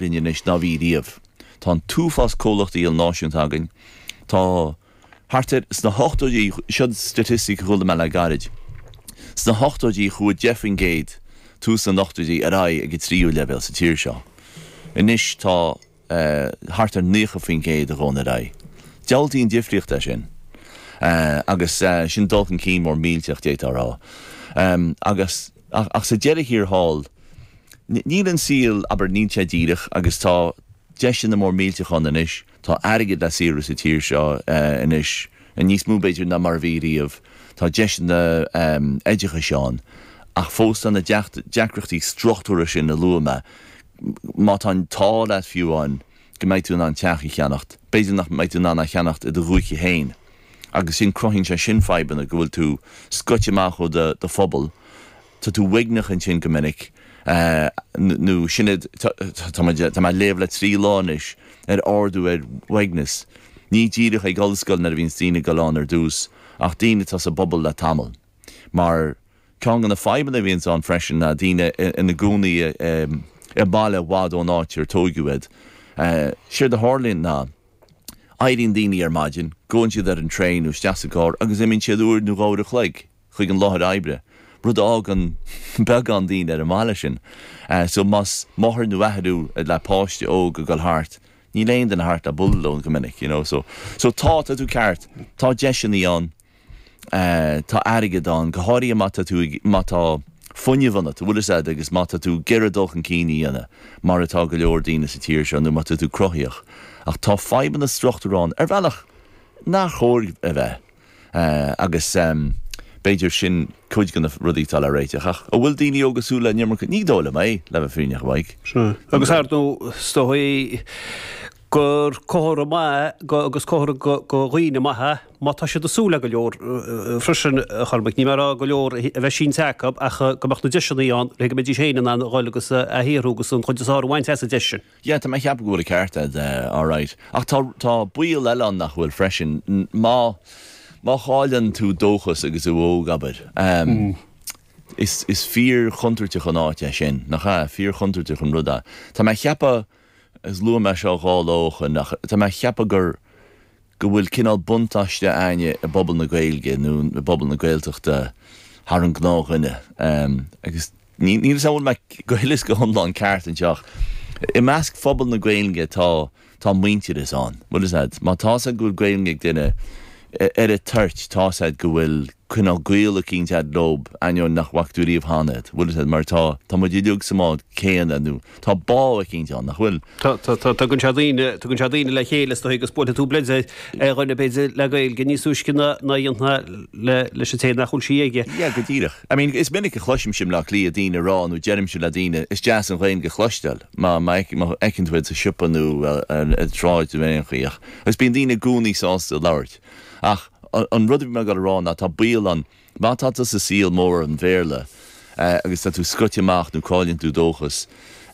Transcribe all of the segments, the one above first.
linn anois ná bhí riamh. Tá an t-uafás comhlachtaí ilnáisiúnta againn. Tá thart ar, sna hochtóidí, seo staitistic a chuala mé le gairid, sna hochtóidí chuaigh 10%, tús na n-ochtóidí, ar aghaidh ag an tríú leibhéal sa tír seo. Anois tá thart ar 90% a ghabhann ar aghaidh. Diabhaltaí an difríocht é sin. Agus sin dul chun cinn mór millteach, d'fhéadfá a rá. Agus, ach sa deireadh thiar thall, Níl an saol, abair, níl sé díreach agus tá deiseanna mór millteach ann anois, tá airgead le saothrú sa tír seo anois, níos mó b'fhéidir ná mar a bhí riamh, tá deiseanna oideachais ann ach fós tá na deacrachtaí struchtúrtha sin a luaigh mé, má tá an t-ádh leat fiú amháin go mbeidh tú in ann teach a cheannacht, b'fhéidir nach mbeidh tú in ann é a cheannacht i do dhúiche féin agus sin, cruthaíonn sé sin fadhbanna go bhfuil tú scoite amach ó do phobal. Tá tú uaigneach ansin go minic, nó sin iad, tá mé ag léamh le 3 lá anois ar ardú ar uaigneas, ní díreach ag ollscoil nuair a bhíonns daoine ag dul ann ar dtús, ach daoine atá sa bpobal le tamall. Mar ceann de na fadhbanna a bhíonns ann freisin ná daoine ina gcónaí i mbaile i bhfad ón áit ar tóigeadh iad. Séard a tharlaíonn ná, éiríonn daoine ar maidin, gabhann siad ar an traein nó isteach sa gcarr agus imíonn siad uair nó dhá uair a chloig. chuig an láthair oibre, rud a fhágann beagán daoine ar an mbaile sin. So más máthair nó athair thú le páiste óg ag dul thart, níl aon duine thart le bualadh leo go minic, you know. So, so tá, tá tú ceart, tá deiseanna ann, tá airgead ann, go háirithe má tá tú ag, má tá fuinneamh ionat, bhfuil fhios a'd, agus má tá tú ag iarraidh dul chun cinn a dhéanamh, mar atá go leor daoine sa tír seo, nó má tá tú cruthaíoch. Ach tá fadhbanna struchtúrtha ann, ar bhealach nár chóir a bheith. Agus b'fhéidir sin cuid de na rudaí atá le réiteach. Ach an bhfuil daoine óga ag súil le an iomarca? Ní dóigh liom é, le bheith fírinneach, a Mhaidhc. Sea. Agus ar ndóigh, is dóigh gur comhartha maith agus comhartha go dhaoine maithe má tá siad ag súil le go leor freisin, a Chormaic. Níl mé ag rá go leor a bheith sínte acu ach go mbeadh na deiseanna ann le go mbeidís féin in ann a dhul agus a shaothrú agus an chuid is fearr a bhaint as an deis sin. Yeah, tá mé ag ceapadh go bhfuil an ceart a'd, alright. Ach tá, tá baol eile ann nach bhfuil freisin. Má, má chailleann tú dóchas agus tú óg, abair, is, is fíor-chontúirteach an áit é sin, nach ea? Fíor-chontúirteach an rud é. Tá mé ag ceapadh, agus luaigh mé seo dhá lá ó shoin, ach tá mé ag ceapadh gur, go bhfuil cineál buntáiste a'inne i bpobal na Gaeilge nó i bpobal na Gaeltachta thar an gnáthdhuine. Agus níl 'fhios a'm an bhfuil mé go huile is go hiomlán ceart anseo ach i measc phobal na Gaeilge tá tá muintearas ann. Bhfuil 'fhios a'd, má tá's a'd go bhfuil Gaeilge ag duine ar an toirt tá's a'd go bhfuil cineál gaol eicínt a'd leob ainneoin nach bhfaca tú riamh cheana iad. Bhfuil 'fhios a'd, mar tá tá muid uilig sa mbád céanna nó Tá bá eicínt ann, nach bhfuil? Tá, tá, tá, tugann sé daoine, tugann sé daoine le chéile is dóigh agus buailfidh tú bleid ar dhuine b'fhéidir le Gaeilge níos túisce ná ná a dhéanfá le, leis an té nach bhfuil sí aige. Yeah, go díreach. I mean, is minic a chloisimse i mBleá Cliath daoine ag rá nó deirimse le daoine, is deas an Ghaeilge a chloisteáil má, má fheiceann tú iad sa siopa nó ar an tsráid nó aon chaoi ach, agus bíonn daoine i gcónaí sásta labhairt. Ach an rud a bhí mé ag dul a rá ná tá baol ann, Má tá tú sa saol mór an Bhéarla agus tá tú scoite amach nó cailleann tú dóchas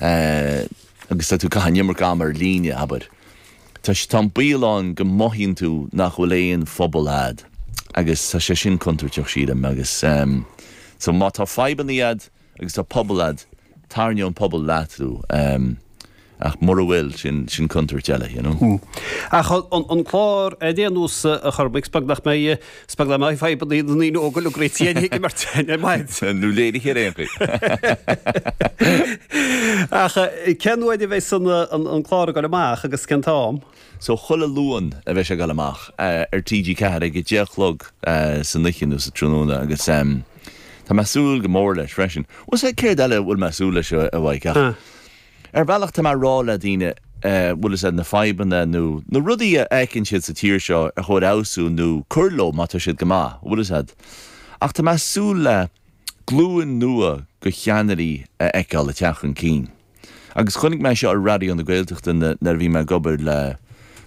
agus tá tú ag caitheamh an iomarca ama ar líne, abair, tá tá an baol ann go mothaíonn tú nach bhfuil aon phobal a'd agus tá sé sin contúirteach sílim agus so má tá fadhbanna a'd agus tá pobal a'd, tarraingeoidh an pobal leat thú ach mura bhfuil, sin, sin contúirt eile, you know. Ach an clár ar aon nós, a Chormaic, is beag nach mbeidh, is beag nach mbeidh fadhbanna na ndaoine óga uilig réitithe ag imirt ar maidin. Nó léirithe ar aon chaoi. Ach cén uair a bheidh an clár ag dul amach agus cén t-am? So chuile Luan a bheidh sé ag dul amach ar TG4 ag a deich a chlog san oíche nó sa tráthnóna agus tá mé ag súil go mór leis freisin. Bhfuil 's a'd céard eile a bhfuil mé ag súil leis a Mhaidhc ach ar bhealach tá mé ag rá le daoine bhfuil 'fhios a'd na fadhbanna nó na rudaí a fheiceann siad sa tír seo ar chóir fheabhsú nó cur leo má tá siad go maith, bhfuil 'fhios a'd. Ach tá mé ag súil le glúin nua de cheannairí a fheiceáil ag teacht chun cinn. Agus chonaic mé seo ar Raidió na Gaeltachta nuair a bhí mé ag obair le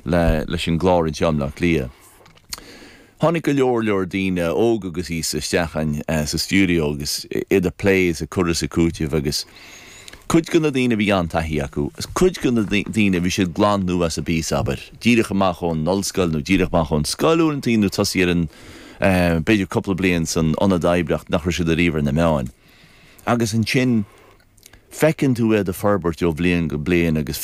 le leis an gclár anseo i mBleá Cliath. Tháinig go leor leor daoine, óg agus aosta, isteach againn sa stiúideo agus iad ag plé is ag cur is ag cúiteamh agus cuid de na daoine bhí an-taithí acu agus cuid de na daoine bhí siad glan nua as an bpíosa, abair, díreach amach ón ollscoil nó díreach amach ón scoil uaireantaí nó tosaí ar an b'fhéidir cúpla bliain san ionad oibre ach nach raibh siad ariamh ar na meáin. Agus ansin. Feiceann tú iad ag forbairt ó bhliain go bliain agus.